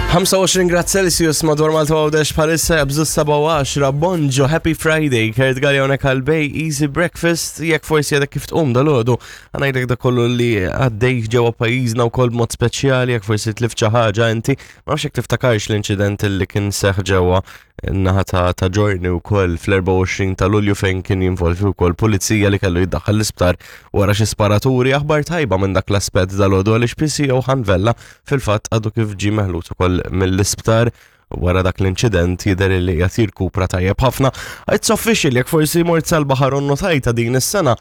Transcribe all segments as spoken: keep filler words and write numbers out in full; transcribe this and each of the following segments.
ħamsa u għoxrin grad Celsius madwar Malta Għawdex bħalissa, jaqbżu s-sebgħa u għaxra. Bonġu, happy Friday, Kurt Galea hawnhekk għal Bay Easy Breakfast. Jekk forsi għadek kif tqum dalgħodu, ħa ngħidlek dak kollu li għaddej ġewwa pajjiżna u kol mod speċjali jekk forsi tlift xi ħaġa inti, ma nafx jekk tiftakarx l-inċident li kien seħ ġewwa naħa ta' ta' Ġorni u koll fl-erbgħa u għoxrin ta' Lulju, fejn kien jinvolvi wkoll pulizija li kellu jiddaħħal l-isptar wara xi sparaturi. Aħbar tajba minn dak l-aspett dalgħodu, għaliex P C O Hanvella fil-fatt għadu kif ġie meħlus ukoll mill-isptar wara dak l-inċident, jidher li qed jirkupra tajjeb ħafna. It's official, jekk forsi mort sal-baħar u notajta, din is-sena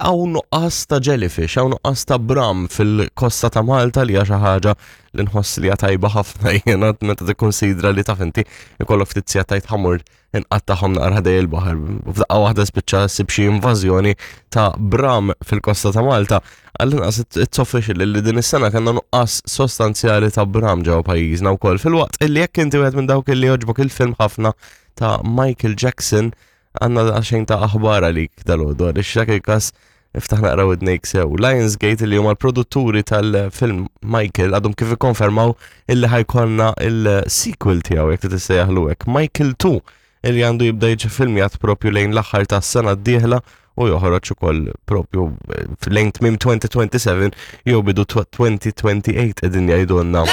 hawn nuqqas ta' jellyfish, hawn nuqqas ta' bram fil-kosta ta' Malta, li hija xi ħaġa li nħoss li hija tajba ħafna jiena, meta tikkonsidra li, taf inti, ikollok ftit sigħat tgħid ħa mmur inqattagħhom naqra ħdejn il-baħar. U f'daqqa waħda spiċċa ssib xi invażjoni ta' bram fil-kosta ta' Malta. Għall-inqas it's official li din is-sena kellna nuqqas sostanzjali ta' bram ġewwa pajjiżna wkoll. Filwaqt illi jekk inti wieħed minn dawk illi jogħġbok il-film ħafna ta' Michael Jackson, għandna xejn ta' aħbar għalik dalgħodu, għaliex dak il-każ iftaħ naqra widnejk sew. Lionsgate, li huma l-produtturi tal-film Michael, għadhom kif ikkonfermaw illi ħa jkollna il-sequel tiegħu, jekk tissejjaħlu hekk, Michael tnejn, illi għandu jibda jiġi filmjat propju lejn l-aħħar tas-sena d-dieħla u joħroġ ukoll propju eh, lejn tmiem elfejn u seba' u għoxrin jew bidu elfejn u tmienja u għoxrin qegħdin jgħidulna.